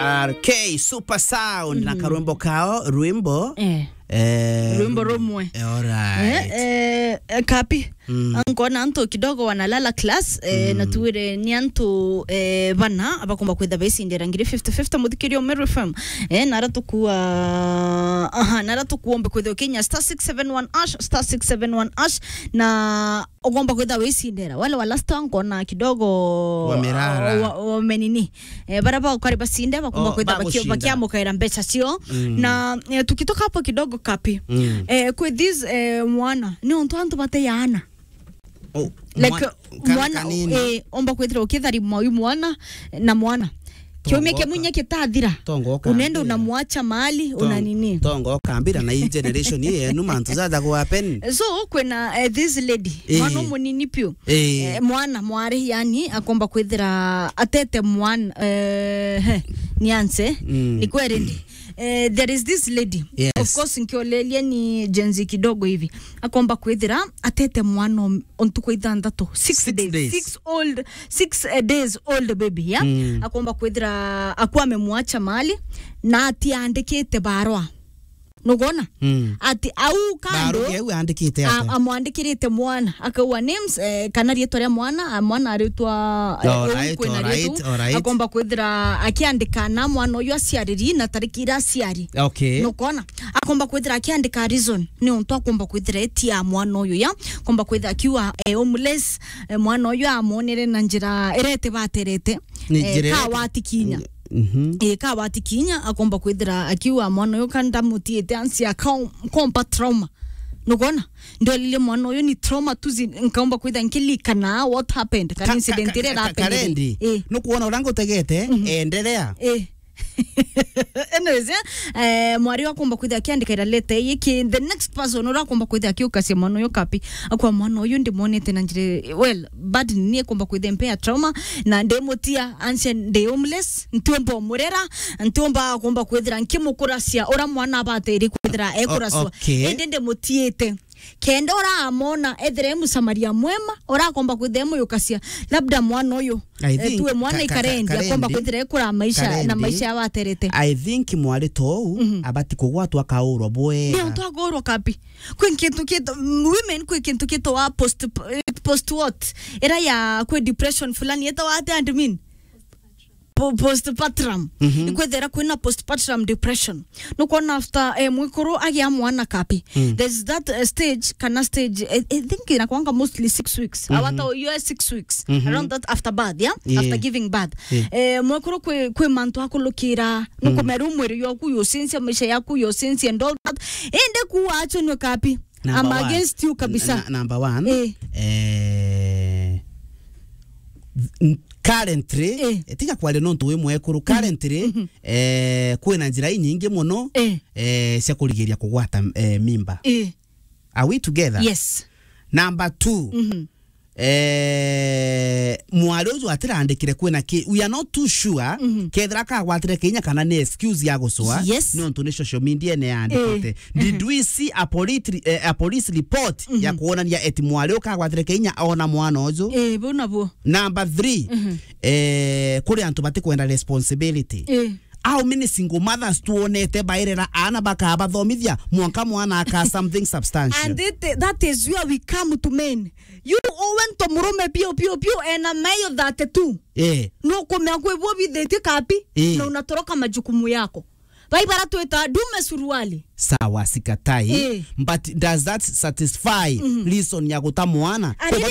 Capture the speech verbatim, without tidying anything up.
R K Super Sound na karwimbo kao, rwimbo. Eh. Eh, Rwimbo rumwe. Eh, alright. Eh, eh, eh, Kapi. Mm. Nkona antu kidogo wanalala class, eh, na tuwire ni antu, eh, bana abakomba kwitha baicindira ngiri fifty fifty, muthikiria Meru F M. Eh, nara tukua, aha, nara tukuombe kwitha ukinya star six seven one hash, star six seven one hash, na ugomba kwitha wicindira. Wale wa last one nkona kidogo wamerara. Wa, wa menini. Eh, bara ba ukari bacinde, bakomba kwitha bakia-, bakiamukaira mbeca cio. Mm. Na, eh, tukitoka hapo kidogo Kapi. Mm. Eh, kwi this, eh, mwana, ni untu antu bateyaana. Oh, like, mwana, mwana, eh, omba kwithira ukithari mwa-, uyu mwana na mwana. Kiumia kimwe inya kitathira, unaenda unamwacha mahali, una nini? Tongo kambira na hii generation hii yenu, mantu jaja ku happen. So, kwina, eh, this lady, eh, mwana munini piu. Eh. Eh, mwana mwari, yani, akomba kwithira atete mwana, eh, he, ni anse, mm, ni kweri ndi. Eh, there is this lady. Yes. Of course, nkiolelia ni Gen Z kidogo hivi. Akomba kwithira atete mwana o, o ntuku ithanthatu. Six days. Six old, six, eh, days old baby, yeah? Mm. Akomba kwithira akwa amemwacha mahali na atiandikite barua. Nugona? Mm. Ati au kando, barua iu andikite a-, ate? Amwandikirite mwana, akauga names, eh, kana riitwa ria mwana, a, mwana aritwa, eh, alright, kwina alright, riitwa, alright. Akomba kwithira akiandika na mwana uyu aciariri na tariki ira aciari. Okay. Nukona? Akomba kwithira akiandika reason, ni untu akomba kwithira etia mwana uyu ya, akomba kwithira akiuga, eh, homeless, eh, mwana uyu amonere na njira irete baterete, ni eh, njira ka irete watikinya. Mhm. Eh, ka watikinya, akomba kwithira akiuga mwana uyu ka ndamutiite ansi aka-, kompa trauma. Nugona? Ndolile mwana uyu ni trauma tu zi-, nkaomba kwithira nkilikana what happened, kana ka-, incident ka-, ira ka-, irapendereire. Karendi. Eh. Nukwona uria ngutegete, mhm, endelea. Eh. Anyways, eh, eh, mwari akomba kwithira akiandikaira letter ii ki the next person uria akomba kwithira akiukacia mwana uyu Kapi. Akwa mwana uyu ndimonete na njira, well, bad ni akomba kwithira mpea trauma, na ndimutia anse ndi homeless, ntiumba umurera, ntiumba akomba kwithira nkimukuracia uria mwana abatiri kwithira ekuracua. O-, okay. Indi ndimutiite. Kenda uramona ethire e Msamaria mwema, urakomba kwithira e muyukacia. Labda mwana uyu, I eh, think tuwe mwana ka-, ka-, ikarendi, Karendi, akomba kwithira ekura maisha, Karendi, na maisha yabaterete. I think mwari tou, mhm, abati kugwatwa akaurwa bwega. Ni untu akaurwa Kapi. Kwi kintu kito, women kwi kintu kito wa post, eh, post what? Ira ya kwi depression fulani, etawa ati admin? Po-, postpartum. Mhm. Ikwethira kwina postpartum depression. Nukwona after, eh, mwikuru agia mwana Kapi. Mm. There's that, eh, stage, kana stage, eh, I think inakwanga mostly six weeks. Mhm. Awata yo six weeks. Mhm. Around that after birth, yeah? Yeah. After giving birth. Yeah. Eh, mwikuru kwi, kwi mantu akulukira. Mm. Nukumeru mwiri yoku yocensia, maisha yaku yocensia and all that. Ende kuwa acho nwe Kapi. Number one. I'm against you kabisa. Na, na, number one, eh, eh, n-, currently, eh, tiga kwaria nontu wi mwekuru, mhm, currently, mhm, eh, kwina njira inyingi muno, eh, eh, cia kurigiria kugwata, eh, mimba. Eh. Are we together? Yes. Number two, mhm, eh, mwari uju atirandikire kwina ki, we are not too sure, mhm, kethira akagwatire kinya kana ni excuse ya gucua, yes, nontu ni social media ene yandikite. Eh. Did we see a police, eh, a police report, mhm, ya kuonania eti mwari ukagwatire kinya ona mwana uju? Eh, bu nabuo. Number three, mhm, eh, kuri antu batikwenda responsibility. Eh. How many single mothers tuonete bairera aana bakabathomithia mwanka mwana aka something substantial? And it, that is where we come to men. You owe nto murume piu, piu, piu, ena mayo thirty-two. Eh. Nukumea kwi bwo bithitie Kapi, eh, na unatoroka majukumu yako. Bai bara twita dume suruali. Sawa, sikatai. Eh. But does that satisfy, mhm, reason ya guta mwana? And even